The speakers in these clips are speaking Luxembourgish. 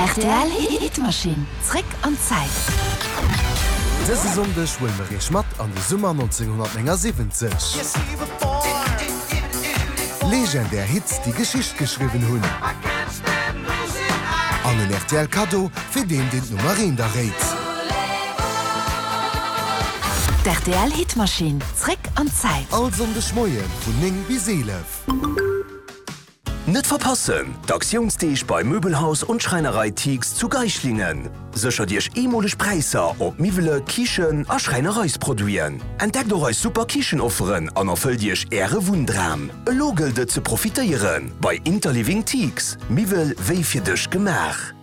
Rtl Hitmaschinn, zréck an d'Zäit. Dëse Sonndeg huele mer iech mat an de Summer 1979. Legendär Hits, déi Geschicht geschriwwen hunn. An en rtl Kaddo fir deen, deen d'Nummer eent erréit. D'RTL Hitmaschinn, zréck an d'Zäit. All Sonndeg Moie vun 9 bis 11. Net verpassen, D'Aktiounsdeeg bei Möbelhaus und Schreinerei Thiegs zu Geislingen! Séchert Iech eemoleg Präisser op Miwwele, Kichen a Schräinereisproduiten. Entdeckt och eis super Kichenofferen an erfëllt Iech Äre Wunndram. Elo gëllt et ze profitéieren bei Interliving Thiegs, Miwwel wéi fir dech gemaach!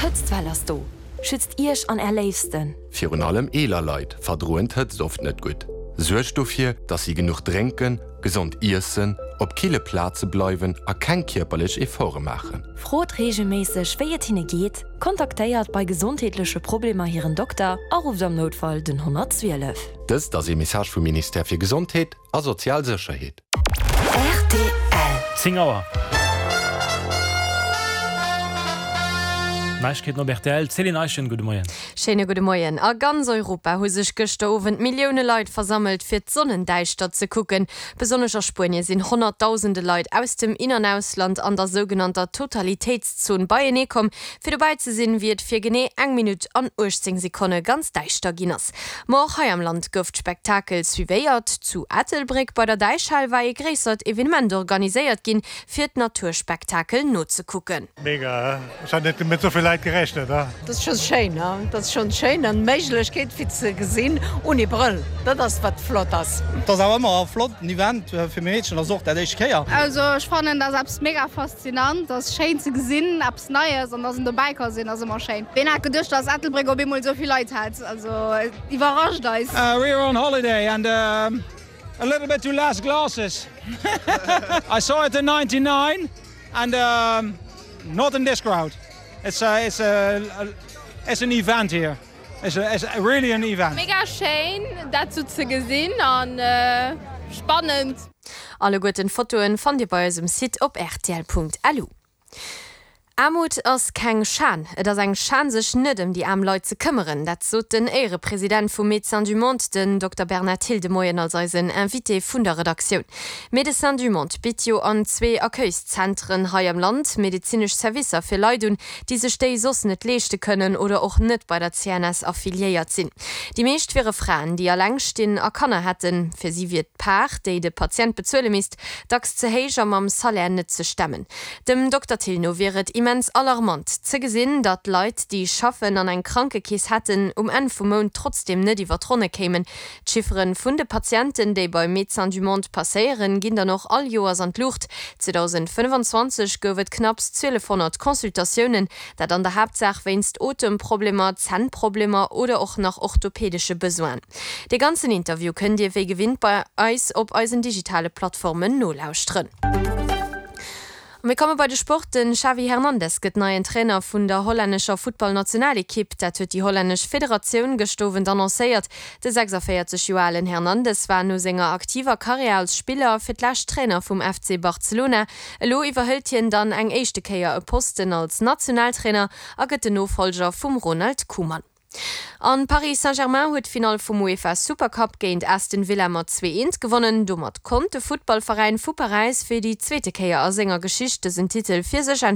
D'Hëtztwell ass do! Schützt Iech an Är Léifsten! Virun allem eeler Leit verdroen d'Hëtzt oft net gutt. Suergt dofir, dass si genuch drénken, gesond iessen, op kille Plaze bleiwen a keng kierperlech Efforte maachen. Frot reegelméisseg, wéi et hinne geet, kontaktéiert bei gesondheetleche Problemer hiren Dokter a rufft am Noutfall den 112. Dëst ass ee Message vum Ministère fir Gesondheet a sozial Sécherheet. Rtl. 10 Auer. Neiegkeeten op rtl, Céline Eischen, gudde Moien. Schéine gudde Moien. A ganz Europa hu sech gëschter Owend Millioune Leit versammelt, fir d'Sonnendäischtert ze kucken. Besonnesch a Spuenie sinn honnertdausende Leit aus dem In an Ausland an der sougenannter Totalitéitszon beienee komm, fir dobäi ze sinn, wéi et fir genee eng Minutt an 18 Sekonne ganz däischter ginn ass. Ma och hei am Land gouf d'Spektakel suivéiert. Zu Ettelbréck bei der Däichhal war ee gréissert Evenement organiséiert ginn, fir d'Naturspektakel nozekucken. Mega, ech hat net mat souvill Leit gerechnet. Dat ass schon schéin, dat ass schon schéin an d'Méiglechkeet fir ze gesinn ouni Brëll, dat ass wat flott ass. Et ass awer ëmmer e flotten Event, fir meng Meedchen ass och dat éischt Kéier. Also ech fannen dat ass eppes mega faszinant, ass schéin ze gesinn, eppes Neies an dass en dobäi ka sinn ass ëmmer schéin. Ween hat geduecht dass Ettelbréck op eemol esou vill Leit hätt, also et iwwerrascht eis. We are on holiday and a little bit too less glasses. I saw it in 99 and not in this crowd. It's it's it's an event here. It's it's really an event. Mega schéin dat sou ze gesinn an spannend. Alleguerten Fotoen fannt dir bei eis um Site op rtl.lu. Aarmut ass keng Schan, et ass eng Schan sech net ëm déi aarm Leit ze këmmeren. Dat sot den Éierepresident vu Médecins du Monde, den Dokter Bernard Thill de Moien als eisen Invité vun der Redaktioun. Médecins du Monde bitt jo an zwee Accueilszentren hei am Land medezinesch Servicer fir Leit un, déi sech déi soss net leeschte kënnen oder och net bei der CNS affiliéiert sinn. Déi meescht wiere Fraen, déi alleng stinn a Kanner hätten. Fir si wier d'Part, déi de Patient bezuele misst, dacks ze héich a mam Salaire net ze stemmen. Dem Dokter Thill no wier et immens alarmant ze gesinn, datt Leit, déi schaffen an eng Krankekeess hätten, um Enn vum Mount trotzdeem net iwwer d'Ronne kéimen. D'Chiffere vun de Patienten, déi bei Médecins du Monde passéieren, ginn dann och all Joers an d'Luucht. 2025 gouf et knapps 1.200 Consultatiounen, dat an der Haaptsaach wéinst Otemproblemer, Zännproblemer oder och nach orthopädesche Besoinen. Dee ganzen Interview kënnt Dir wéi gewinnt bei eis op eisen digitale Plattformen nolauschteren. A mir komme bei de Sport. Den Xavi Hernandez gëtt neien Trainer vun der hollännescher Futtballnationalekipp. Dat huet déi hollännesch Federatioun gëscht Owend annoncéiert. De 46 Joer alen Hernandez war no senger aktiver Karriär als Spiller fir d'lescht Trainer vum FC Barcelona. Elo iwwerhëlt hien dann eng éischte Kéier e Posten als Nationaltrainer a gëtt den Nofollger vum Ronald Koeman. An Paris Saint-Germain huet d'Finall vum UEFA Supercup géint Aston Villa mat 2, 1 gewonnen. Domat konnt de Futtballveräin vu Paräis fir déi zweete Kéier a senger Geschicht dësen Titel fir sech entscheeden.